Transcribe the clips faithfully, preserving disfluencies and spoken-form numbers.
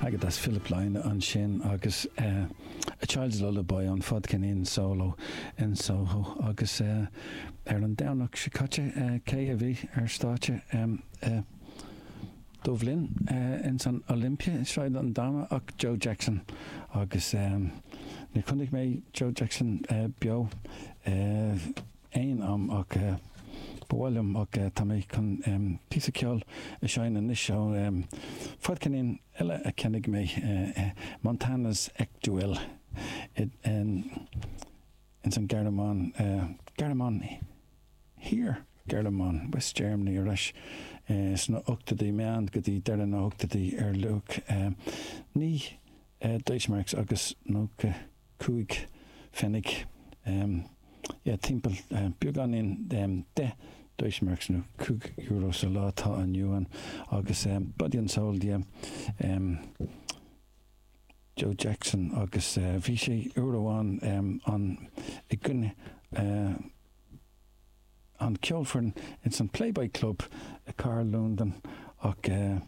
Agus Philip Lynott ansin agus uh, A Child's Lullaby an fadcheirnín solo in Soho agus uh, ar an Domhnach seo caite uh, cé a bhí ar stáitse um, uh, Dubhlinn uh, in san Olympia Sráid an Dama ach Joe Jackson agus um, ní chonaic mé Joe Jackson uh, beo uh, aon am ach uh, bhilm ach uh, tá mé chun um, píosa ceoil a sheinm anois seo um, fadcheirnín eile a cheannaigh mé uh, uh, Montana's Eckduell in in san Gearmáin uh, Gearmáin Thiar Gearmáin West Germany aris uh, sna ochtóidí meán go dtí deireadh na hochtóidí ar luach uh, naoi uh, Deutschmarks agus nócha cúig pfennig um, yeah, timpeall uh, beagáinín um, deich Deutschmarks nó cúig euro sa lá atá inniu ann agus um, Body and Soul yeah, um, Joe Jackson agus uh, bhí sé uair amháin um, an i gcoinne uh, an ceolfhoireann in san Playboy Club i cathair Londain ach uh,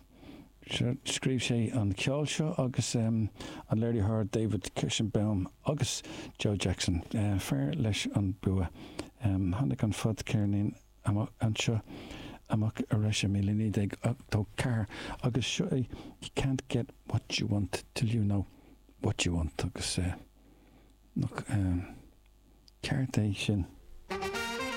scríobh sé an ceol seo agus um, an léiritheoir David Kershenbaum agus Joe Jackson uh, fear leis an bua. Um, tháinig an fadcheirnín anseo amach arís i míle naoi déag ochtó ceathair agus seo é you can't get what you want till you know what you want agus uh, nach um, ceart é sin.